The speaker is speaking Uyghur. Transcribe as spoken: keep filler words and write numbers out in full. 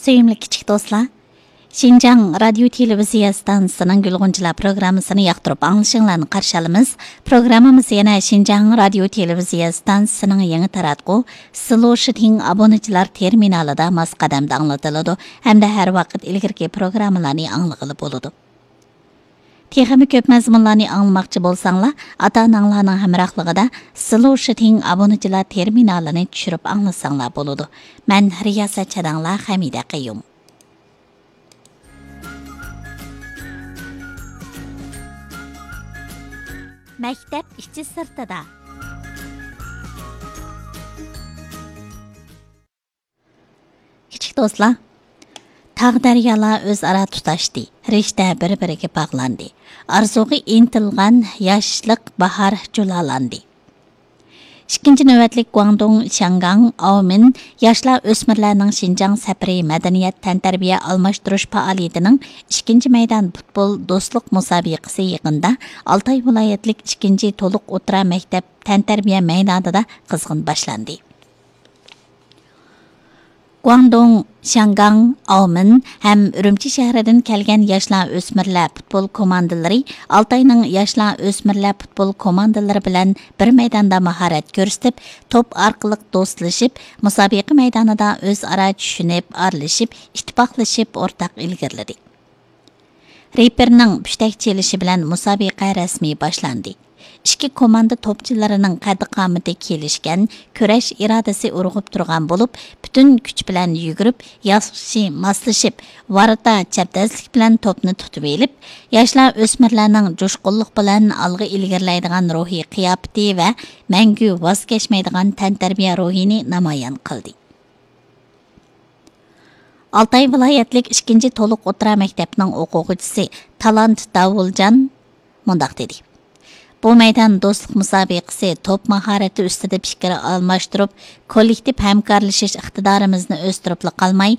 سۆيۈملۈك كىچىك دوستلار، شىنجاڭ رادىيو تېلېۋىزىيە ئىستانسىسىنىڭ گۈل غۇنچىلار پروگراممىسىنى ياقتۇرۇپ ئاڭلىشىڭلارنى قارشى ئالىمىز. پروگراممىمىز يەنە شىنجاڭ رادىيو تېلېۋىزىيە ئىستانسىسىنىڭ يېڭى تاراتقۇ سلوشىتىڭ ئابۇنىچىلار تېرمىنالىدا ماس قەدەمدە ئاڭلىتىلىدۇ ھەمدە ھەر ۋاقىت ئىلگىرىكى پروگراممىلارنى ئاڭلىغىلى بولىدۇ. تېخىمۇ كۆپ مەزمۇنلارنى ئاڭلىماقچى بولساڭلار، ئاتا-ئاناڭلارنىڭ ھەمراھلىقىدا سلوشىتىڭ ئابۇنىچىلار تېرمىنالىنى چۈشۈرۈپ ئاڭلىساڭلار بولىدۇ. مەن رىياسەتچى ئاداڭلار خەمىدە قەييۇم. مەكتەپ ئىچى سىرتىدا. كىچىك دوستلار، تاغ دەريالار ئۆزئارا تۇتاشتى، رىشتە بىر-بىرىگە باغلاندى، ئارزۇغا ئىنتىلغان ياشلىق باھار جۇلالاندى. ئىككىنچى نۆۋەتلىك گۇاڭدۇڭ شياڭگاڭ ئاۋمىن ياشلار ئۆسمۈرلەرنىڭ شىنجاڭ سەپىرى مەدەنىيەت تەنتەربىيە ئالماشتۇرۇش پائالىيىتىنىڭ ئىككىنچى مەيدان پۇتبول دوستلۇق مۇسابىقىسى يېقىندا ئالتاي ۋىلايەتلىك ئىككىنچى تولۇق ئوتتۇرا مەكتەپ تەنتەربىيە مەيدانىدا قىزغىن باشلاندى. گۇاڭدۇڭ، شياڭگاڭ، ئاۋمېن ھەم ئۈرۈمچى شەھىرىدىن كەلگەن ياشلار ئۆسمۈرلەر پۇتبول كوماندىلىرى ئالتاينىڭ ياشلار ئۆسمۈرلەر پۇتبول كوماندىلىرى بىلەن بىر مەيداندا ماھارەت كۆرسىتىپ، توپ ئارقىلىق دوستلىشىپ، مۇسابىقە مەيدانىدا ئۆزئارا چۈشىنىپ، ئارىلىشىپ، ئىتتىپاقلىشىپ ئورتاق ئىلگىرىلىدى. رېپېرنىڭ پۈشتەك چېلىشى بىلەن مۇسابىقە رەسمىي باشلاندى. ئىككى كوماندا توپچىلىرىنىڭ قەددى-قامىتى كېلىشكەن، كۈرەش ئىرادىسى ئۇرغۇپ تۇرغان بولۇپ، پۈتۈن كۈچ بىلەن يۈگۈرۈپ، ياخشى ماسلىشىپ، ۋاراتتا چەبدەزلىك بىلەن توپنى تۇتۇۋېلىپ، ياشلار ئۆسمۈرلەرنىڭ جۇشقۇنلۇق بىلەن ئالغا ئىلگىرىلەيدىغان روھىي قىياپىتى ۋە مەڭگۈ ۋاز كەچمەيدىغان تەنتەربىيە روھىنى نامايان قىلدى. ئالتاي ۋىلايەتلىك ئىككىنچى تولۇق ئوتتۇرا مەكتەپنىڭ ئوقۇغۇچىسى تالانت داۋۇلجان مۇنداق دېدى: بۇ مەيدان دوستلۇق مۇسابىقىسى توپ ماھارىتى ئۈستىدە پىكىر ئالماشتۇرۇپ، كوللېكتىپ ھەمكارلىشىش ئىقتىدارىمىزنى ئۆستۈرۈپلا قالماي،